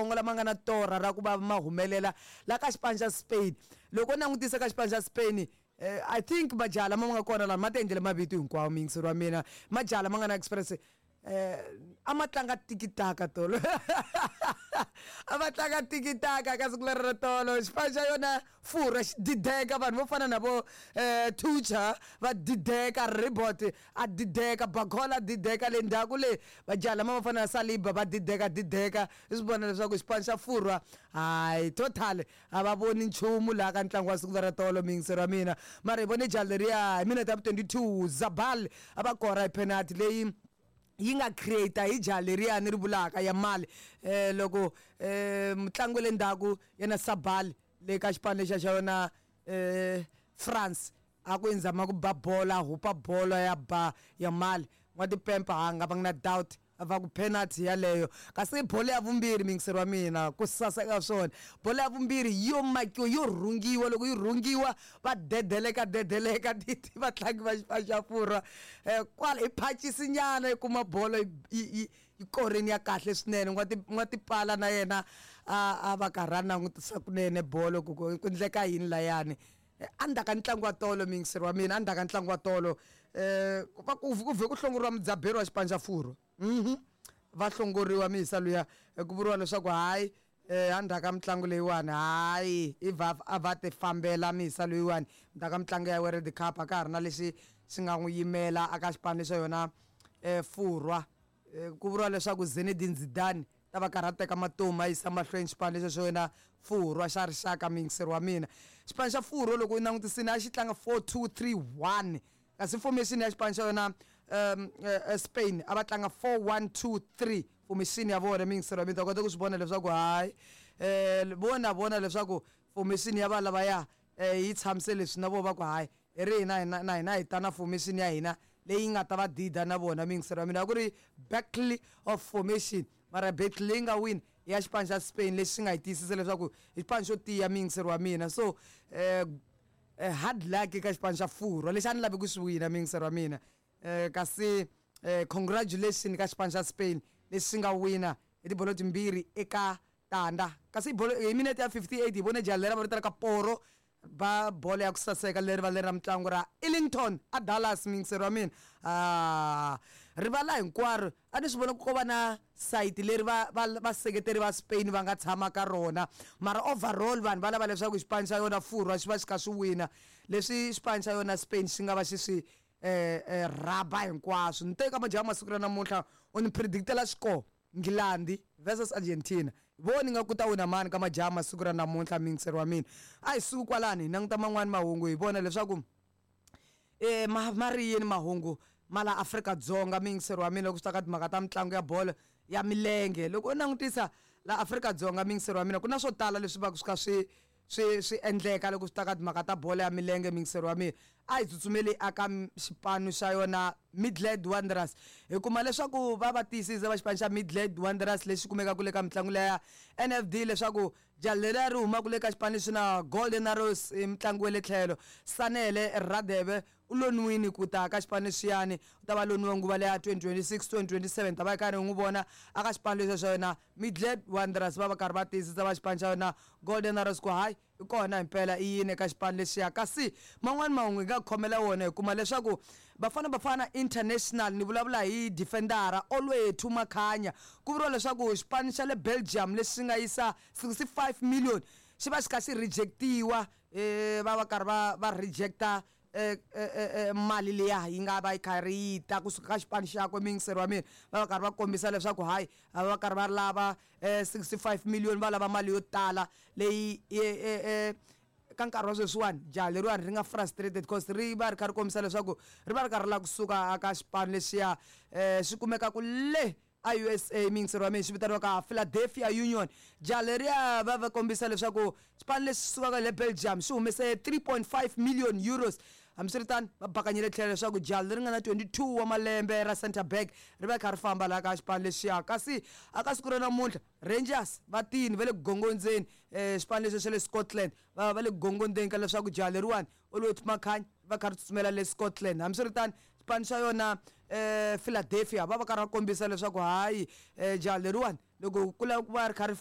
lamatsongo lama nga na torha ra ku va ma humelela la ka xipano xa Spain. Loko u langutisa ka xipano xa Spain, I think majaha lama ma nga kona lama ma ti endlele mavito hinkwawo, muyingiseri wa mina. Majaha lama nga na experience a ma tlanga tikitaka tolo, a va tlanga tikitaka ka siku leri ra tolo. Xipano xa yona Furwa xi dideka, vanhu vo fana na vo Tucha va dideka, Ribot a dideka, Bacola a dideka, le ndzhaku le majaha lama ma fana na Saliba va dideka dideka. I swi vona leswaku xipano xa Furwa hayi total a va voni nchumu laha ka ntlangu wa siku ra tolo, muyingiseri wa mina. Mara hi vone jaha leriya hi minete ya vu 22, Zabal a va kora hi penalty leyi yi nga create hi jaha leriya ni ri vulaka ya mali. Loko mutlangi wa le ndzhaku yena Sabal le ka xipano lexiya xa yona France a ku inzama ku ba bolo, a hupa bolo ya ba ya mali n'watipempa, ha nga va na doubt va ku penalty yaleyo. Kasi bolo ya vumbirhi, muyingiseri wa mina, ku saseka swona, bolo ya vumbirhi yo makiwa, yo rhungiwa. Loko yi rhungiwa va dedeleka dedeleka vatlangi va xipano xa Furwa kwala hi phacisi nyana yi kuma bolo yi koreni ya kahle swinene. N'watipala na yena a va karhi a langutisa kunene bolo ku ku endleka yini layani. Endzhaku ka ntlangu wa tolo, muyingiseri wa mina, endzhaku ka ntlangu wa tolo va ku vhe ku hlongoriwa mudzaberi wa xipano xa Furwa. Va hlongoriwa miyisa luya, ku vuriwa leswaku hayi, endzhaku ka mitlangu leyiwani hayi i va a va ti fambela miyisa loyiwani. Ndzhaku ka mitlangu ya World Cup a ka ha ri na lexi xi nga n'wi yimela aka xipano xa yona Furwa. Ku vuriwa leswaku Zinedine Zidane ta va karhi a teka matomu a yisa mahlweni xipano lexi xo yena Furwa xa rixaka. Muyingiseri wa mina, xipano xa Furwa loko u langutisini a xi tlanga 4-2-3-1, kasi formation ya xipano xa yona Spain a va tlanga 4-1-2-3 formation ya vona. Muyingiseri wa mina, ta kota ku swi vona leswaku hayi, vona vona leswaku formation ya va lavaya yi tshamise leswi na vona va ku hayi, hi ri hina na hina hi ta na formation ya hina leyi nga ta va dida na vona. Muyingiseri wa mina, a ku ri battle of formation, mara battle leyi nga win ya xipano xa Spain lexi xi nga yi tiyisisa leswaku i xipano xo tiya, muyingiseri wa mina. So hard luck eka xipano xa Furwa lexi a ni lavi ku swi wina, muyingiseri wa mina. Kasi congratulation ka xipano xa Spain lexi xi nga wina hi tibolo timbirhi eka tandza. Kasi bolo hi minete ya 58 hi vone jaha leri va vitanaka Poro ba bolo ya ku saseka leri va leri ra mitlangu ra Ellington a Dallas, muyingiseri wa mina. Rivala hinkwaro a ni swi vona ku ko va na sayiti leri va va vaseketeri va Spain va nga tshama ka rona, mara overall vanhu va lava leswaku xipano xa yona Furwa xi va xi kha swi wina leswi xipano xa yona Spain xi nga va xi swi rhaba hinkwaswo. Ni teka majaha masiku ra namuntlha u ni predictela score Nghilandhi versus Argentina, voni nga ku ta wina mani ka majaha masiku ra namuntlha, muyingiseri wa mina. A hi suki kwalani hi languta man'wani mahungu, hi vona leswaku ma ri yini mahungu ma la Afrika-Dzonga, muyingiseri wa mina, loko swi ta ka timhaka ta mitlangu ya bolo ya milenge. Loko u langutisa la Afrika-Dzonga, muyingiseri wa mina, ku na swo tala leswi va swi kha swi swi swi endleka loko swi ta ka timhaka ta bolo ya milenge, muyingiseri wa mina. A hi tsutsumeli aka xipano xa yona Midland Wanderers, hi kuma leswaku va va tiyisisa va xipano xa Midland Wanderers lexi kumekaka le ka mitlangu leya NFD leswaku jaha leriya ri humaka le ka xipano lexi na Golden Arrows i mutlangi wa le tlhelo Sanele Radebe u loniwini ku ta ka xipano lexiyani. U ta va loniwe nguva leya 2026 2027, ta va yi karhi hi n'wi vona aka xipano lexi xa yona Midland Wanderers. Va va karhi va tiyisisa va xipano xa yona Golden Arrows ku hayi, i kona himpela i yini eka xipano lexiya. Kasi man'wani mahungu hi nga khomela wona, hi kuma leswaku Bafana Bafana International, ni vulavula hi defendara Olwethu Makhanya, ku vuriwa leswaku xipano xa le Belgium lexi xi nga yisa 65 million xi va xi kha xi rejectiwa. Va va karhi va va rejecta mali liya yi nga va yi karhi yi ta kusuka ka xipano xakwe, muyingiseri wa mina. Va va karhi va kombisa leswaku hayi, a va karhi va lava 65 million, va lava mali yo tala leyi ka nkarhi wa sweswiwani jaha leriwani ri nga frustrated because ri va ri kha ri kombisa leswaku ri va ri karhi ri lava kusuka ka xipano lexiya xi kumekaka le a USA, muyingiseri wa mina, xi vitaniwaka Philadelphia Union. Jaha leriya va va kombisa leswaku xipano lexi sukaka le Belgium xi humese 3.5 million euros. Hambiswiritano va bakanyile tlhelo leswaku jaha leri nga na 22 wa malembe ra center back ri va kha ri famba laha ka xipano lexiya. Kasi aka siku ra namuntlha Rangers va tini va le ku gongondzeni, xipano lexi xa le Scotland va va le ku gongondzeni ka leswaku jaha leriwani Olwethu Makhanya va kha ri tsutsumela le Scotland. Hambiswiritano xipano xa yona Philadelphia va va karhi va kombisa leswaku hayi, jaha leriwani loko ku lava ku va ri kha ri